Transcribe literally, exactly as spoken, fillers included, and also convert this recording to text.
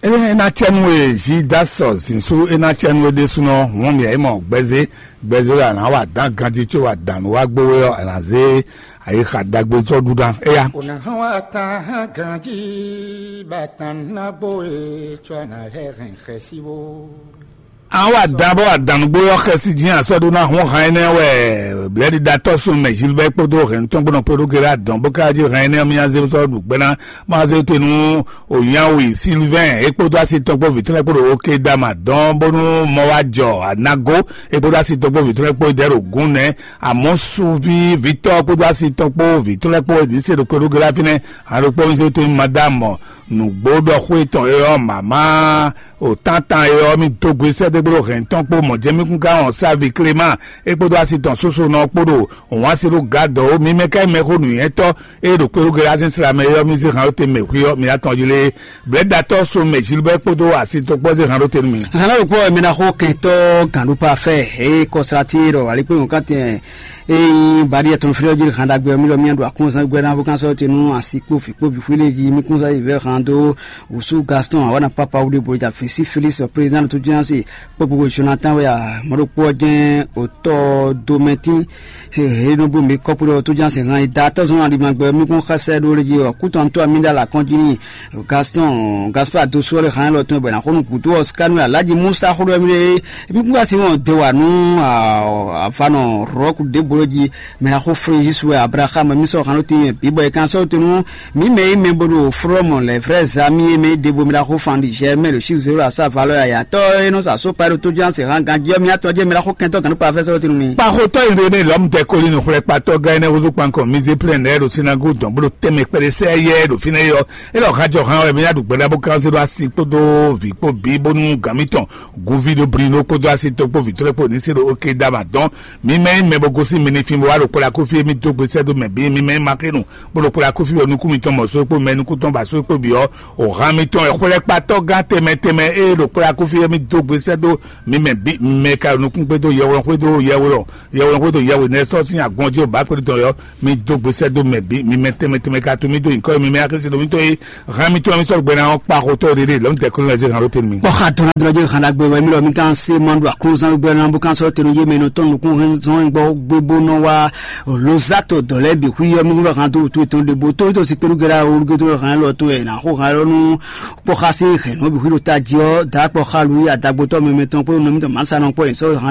É ná cɛ́ nú we jí dá sɔ zǐnsú, é ná cɛ́ nú we ɖésúnɔ hǔn mǐ yi mɔ gbɛzé. Gbɛzé wɛ a nǎ wa dǎn ganjí có wa dǎn nú wá gbó we ɔ́, a nǎ zé ayixa ɖagbe tɔ́ ɖu ná éya. Kò ná hán wá tán hán ganjí bá tán ná gbó we có a nǎ lɛ́ hɛn xɛsí bó. An wa dan bɔ adanugbo ɔ́ xɛsi jin asɔ́ ɖó ná hɔn han énɛ́ wɛ blɛ́ɖiɖatɔ́ sun mɛ Gilbert kpódó hɛn tɔn gbɔn kpódó Gérard dɔn bó ka jí han énɛ́ ɔ́ mì azé sɔ́ ɖu gbɛ́ ná má zé te nú Oyanwi Sylvain é kpódó asi tɔn kpó vǐtɔ́ lɛ́ɛ kpó ɖo oké dama dɔn bónú mɔ wá jɔ anago é kpódó asi tɔn kpó vǐtɔ́ lɛ́ɛ kpó dɛ́ ɖo gún nɛ́ amɔ̌ suví vítɔ́ kpódó asi tɔn kpó vǐtɔ́ lɛ́ɛ kpó é dǐ se ɖo kpódó Gérard fínɛ́. Aɖokpɔ́ zé te nú madame nǔgbó ɖɔ xwé tɔn é ɔ́ mama o tántán é ɔ́ mì dó gbe sɛ́dégbé ɖo hɛ̌n tɔn kpó mɔ̌ jɛ́n mì kún ká wɔn sávi Clément é kpódó asi tɔn sóso nɔ kpó ɖo wǎn se ɖó gǎ dɔ̌ ó. Mi mɛ ká nyí mɛxó nǔnywɛ́tɔ́ é ɖo kpéɖóge lɛ́ azín sla mɛ é ɔ́, mì zé han ó te mɛ xwí ɔ́, mi ná tɔn jí lé. Blɛ̌datɔ́ so mɛ Gilbert kpódó asi tɔn kpó zé han ɖó te nú mi. Hannah ɖokpó ɔ́, mi ná xó kɛntɔ́ gǎnɖópa fɛ é kɔslatí ɖɔ alíkpé ŋu kátɛn. Ényí baɖí yɛtɔn fí ɔ́ jí han ɖagbe ɔ́, mì lɔ mì ɖo aklúnzán gbɛ́ ná bó kán sɔ́ te nú asi kpó vǐ kpó bǐ xwí lé jí mì kún zán yi vɛ́ han dó wǔsú Gaston awǎna pápá wú ɖé bo ja fǐ sí Félix président de tójánsi kpókpókpó Jonathan wɛ a mɔ̌ ɖokpó ɔ́ jɛ́n òtɔ́ domɛtín he nɔ bú mǐ kɔ́ kpódó tójánsi han yi da tɔ́ zɔn aɖima gbɛ mì kún xɛsɛ ɖó lé jí ɔ́ kú tɔn tó amì ɖo alakɔn jí n'i. Gaston Gaspar Dosuɔ ɖe xan élɔ́ tɔn bɔ è nǎ xo nú gǔdo ɔ́, Sikanu Alaji Musa xó ɖɔ émí ɖe émí kún wá sí wɔn de wǎ nú avanɔ Rɔku ɖěbǔ jí mɛ ná xó Fréjus wɛ Abraham émí sɔ́ xan ɖó tɛ́nmɛ bǐ bɔ è kan sɔ́ te nú mǐ mɛ e mɛ bo ɖo Frɔ́mɔ lɛ̌ vrɛ́ zami e mɛ é ɖěbǔ mɛ ná xó Fandijɛ mɛ ɖo Siwu Zéro asa valɔ ayatɔ́ e nɔ sa só pa é ɖo tójúná se hán ganjí ɔ́ mì atɔn jɛ mɛ ná xó kɛntɔ́ gǎn ɖó pa fɛ́ sɔ́ ɖó te nú mi. Kpaxotɔ́ e ɖe ní lɔ̌m tɛ koli nǔxwlɛ́kpatɔ́ gán énɛ́ húzú kpankɔ mizé plɛ́n lɛ́ɛ ɖo sinago dɔn bó ɖo tɛnmɛ kpɛɖé sɛ yɛ ɖo fínɛ́ é ɔ́, é lɔ hán jɔ hán wɛ mì ná ɖu gbɛɖá bó kán zé ɖó asi kpódó vǐ kpó bǐ bónú gǎn mitɔn Guviɖo Brino kpódó asi tɔn kpó vǐtrɔ́ kpó ní se ɖo oké dama dɔn. Mi mɛ nyí mɛ bó gosín mi ní fín bó wá ɖo kpɔ́ɖa kó fí émí dó gbe sɛ́ dó mɛ bǐ, mi mɛ nyí Maxénu bó ɖo kpɔ́ɖa kó fí bɔ nukún mitɔn mɔ só kpó mɛ nukún tɔn ba só kpó bǐ ɔ́, o han mitɔn wɛ xwlɛ́kpatɔ́ gán tɛnmɛ tɛnmɛ ée ɖo kpɔ́ɖa kó fí émí dó gbe sɛ́ dó mi mɛ bǐ, mi mɛ ka ɖo nukún kpé dó yɛwlɔn xwé dó yɛwlɔn yɛwlɔn xwé dó yɛwlɔn nɛsɔ́ sín agbɔn jí o bǎ kpé tɔn yɔ, mi dó gbe sɛ́ dó mɛ bǐ, mi mɛ tɛnmɛ tɛnmɛ ka to mí dó nyǐkɔ mi mɛ axési ɖo mítɔn é. Hán mì tɔ́n mì sɔ́ gbɛ ná ɔ́ kpa xotɔ́ ɖé ɖé lɔ̌n tɛ kúnlẹ̀ zé hàn ló tɛnu mi. Kpɔxa dɔn na dɔn jɛ hàn dagbe wɛ mi lɔ mi kan se man do aklúnzán gbɛ na bó kan sɔ́ tenu yé mɛ nɔ tɔn nukún hɛn zɔn gbɔ gbé bó nɔ wá lozato dɔlɛ bi hui yɔ mi wɔ hàn tó tó tó de bo tó tó si pelu gɛra olugbe tó hàn lɔ tó ɛ na xó hàn lɔ nu kpɔxa se hɛn nɔ bi hui ɖo ta jí ɔ da kpɔxa lu ya dagbotɔ mɛ mɛ tɔn kpó nɔ mi tɔn masa nɔ kpɔ ɛ sɔ hàn